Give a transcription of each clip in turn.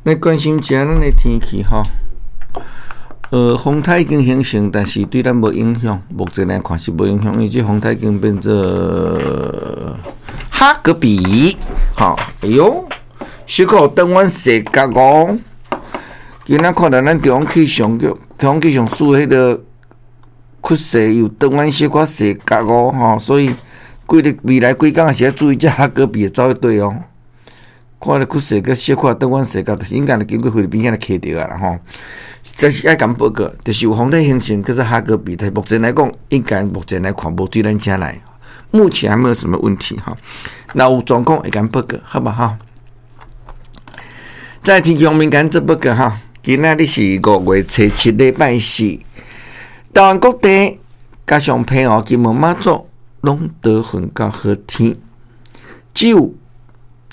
來關心一下咱的天氣吼。風颱已經形成，但是對咱無影響。目前來看是無影響，因為這風颱已經變做哈格比，吼，哎喲，小可轉彎踅角哦。今仔看著咱中央氣象局，中央氣象署彼个趨勢有轉彎小可踅角哦，吼，所以幾日未來幾工是愛注意這哈格比會走佗對哦。看咧趨勢閣小可轉彎踅角，就是應該經過菲律賓遐來卡著啊啦吼。這是愛共報告，就是有風颱形成，叫做哈格比。但目前來講，應該目前來看無對咱遮來，目前還沒有什麼問題哈。若有狀況會共報告，好無哈？在天氣方面，共做報告哈。今仔日是5月初7，禮拜四，台灣各地加上澎湖、金門、馬祖，攏多雲到好天，只有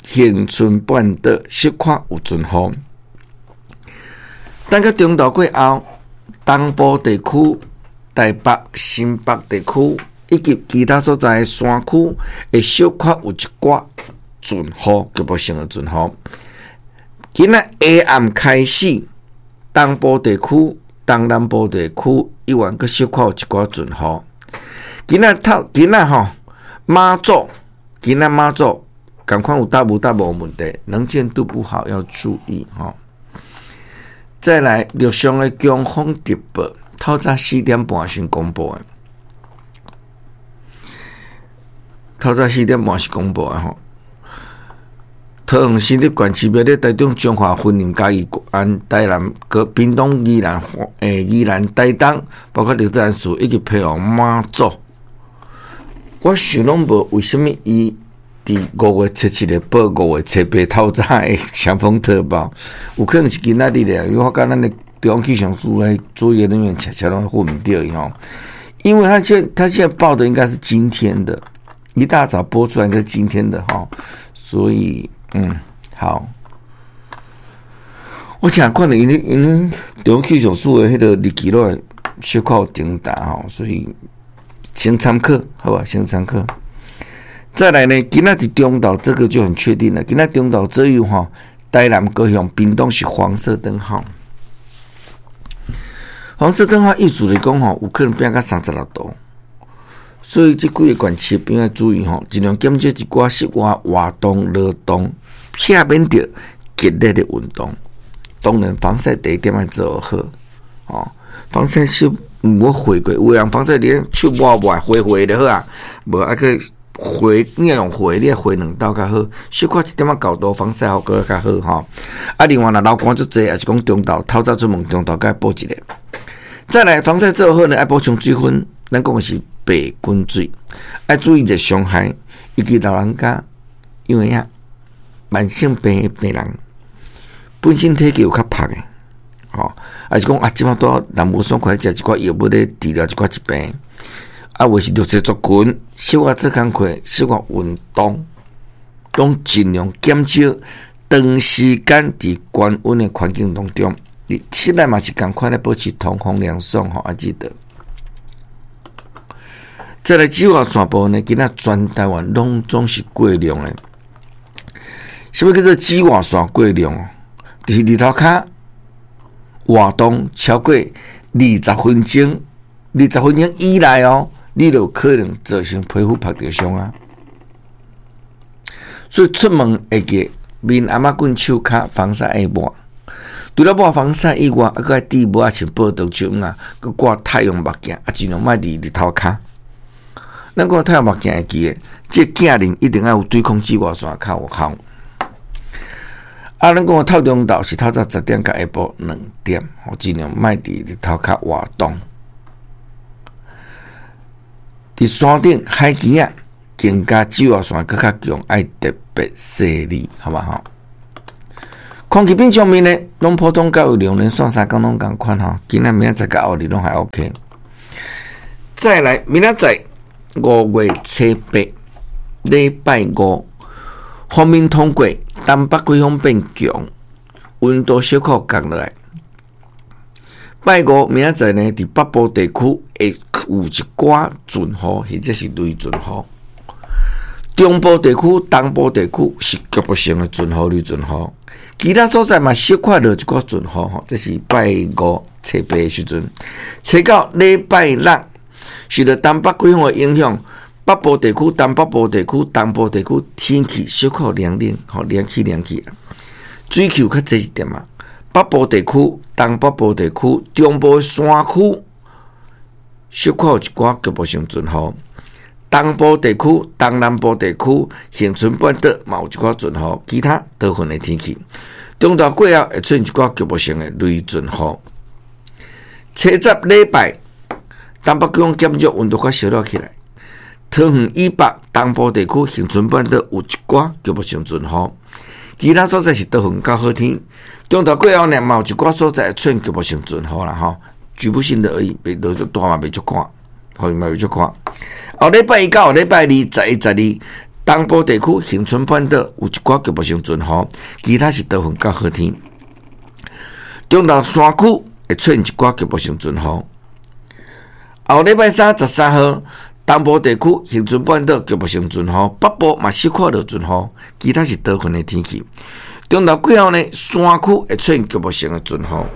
恆春半島小可有陣雨。等到中晝過後，東部地區、台北、新北地區以及其他所在的山區，會小可有一寡陣雨，局部性的陣雨。今仔下暗開始，東部地區、東南部地區依然閣小可有一寡陣雨。今仔透，今仔吼馬祖，今仔馬祖仝款有搭無搭無問題，能見度不好要注意吼。再來，陸上的強風特報，透早4點半先公布的，透早四點半是公布的吼。桃園新竹縣市別咧，台中彰化、雲林、嘉義、安、台南、閣屏東、宜蘭、宜蘭、台東，包括臺南市以及澎湖、馬祖。我想攏無為啥物伊佇5月初7日報5月初8透早的強風特報，有可能是今仔日咧，因為我感覺咱的中央氣象署的作業人員常常攏混毋著伊吼，因為他現在報的應該是今天的，一大早播出來應該是今天的吼，所以好，我想看著𪜶中央氣象署的彼个日期攏會小可有重疊吼，所以先參考，好吧，先參考。再來呢，今仔佇中晝這個就很確定了。今仔中晝左右吼，台南、高雄、屏東是黃色燈號。黃色燈號意思是講吼，有可能變到36度。所以這幾個縣市朋友注意吼，盡量減少一寡室外活動、勞動，避免著激烈的運動。當然，防曬第一點愛做好，哦，防曬是毋好花過，有的人防曬佇手抹抹花花就好啊，無愛去花，你若用花，你愛花兩道較好，小可一點仔厚度防曬效果較好吼。啊，另外若流汗足濟，抑是講中晝透早出門，中晝閣愛補一下。再來防曬做好呢，愛補充水分，咱講的是白滾水，愛注意熱傷害，尤其老人家，因為啊，慢性病的病人本身體格有較薄的，吼，抑是講啊，這擺拄人無爽快，食一寡藥物咧治療一寡疾病。啊，或是弱勢族群，小可做工課，小可運動，攏盡量減少長時間佇高溫的環境當中。佇室內嘛是仝款咧，保持通風涼爽吼，愛記得。再來紫外線部分呢，今仔全台灣攏總是過量的。啥物叫做紫外線過量？就是日頭跤活動超過二十分鐘，二十分鐘以內哦，你就可能造成皮膚曝著傷啊。所以出門會記面頷仔棍、手跤防曬愛抹。除了抹防曬以外，還閣愛戴帽仔，穿報道手啊，閣掛太陽目鏡，啊，盡量莫佇日頭跤。咱講太陽目鏡會記得，這鏡面一定愛有對抗紫外線較有效。啊，咱講透中晝是透早10點到下晡2點，吼，盡量莫佇日頭跤活動。佇山頂海墘仔，更加紫外線閣較強，愛特別細膩，好無吼？空氣品質方面呢，攏普通較有兩連紲三工攏仝款吼，今仔明仔載佮後日攏還 OK。再來，明仔載5月初8，禮拜五，鋒面通過，東北季風變強，溫度小可降落來。拜五明仔載呢，佇北部地區會有一寡陣雨，或者是雷陣雨。中部地區、東部地區是局部性的陣雨、雷陣雨。其他所在嘛小可落一寡陣雨吼，這是拜五初八的時陣，初九禮拜六受著東北季風的影響，北部地區、東北部地區、東部地區天氣小可涼冷，吼涼氣涼氣，水汽較濟一點仔。北部地區、東北部地區、中部山區小可有一寡局部性陣雨。東部地區、東南部地區、恆春半島嘛有一寡陣雨，其他多雲的天氣。中晝過後會出現一寡局部性的雷陣雨。初十禮拜，東北季風減弱，溫度較燒熱起來。桃園以北、東部地區、恆春半島有一寡局部性陣雨，其他所在是多雲較好天。中晝過後呢，嘛有一寡所在會出現局部性陣雨啦，吼，局部性的而已，袂落足大嘛，袂足寒，雨嘛袂足寒。後禮拜一到後禮拜二，11、12，東部地區、恆春半島有一寡局部性陣雨，其他是多雲較好天。中晝山區會出現一寡局部性陣雨。後禮拜三13號，東部地區、恆春半島局部性陣雨，北部嘛小可落陣雨，其他是多雲的天氣。中晝過後呢，山區會出現局部性的陣雨。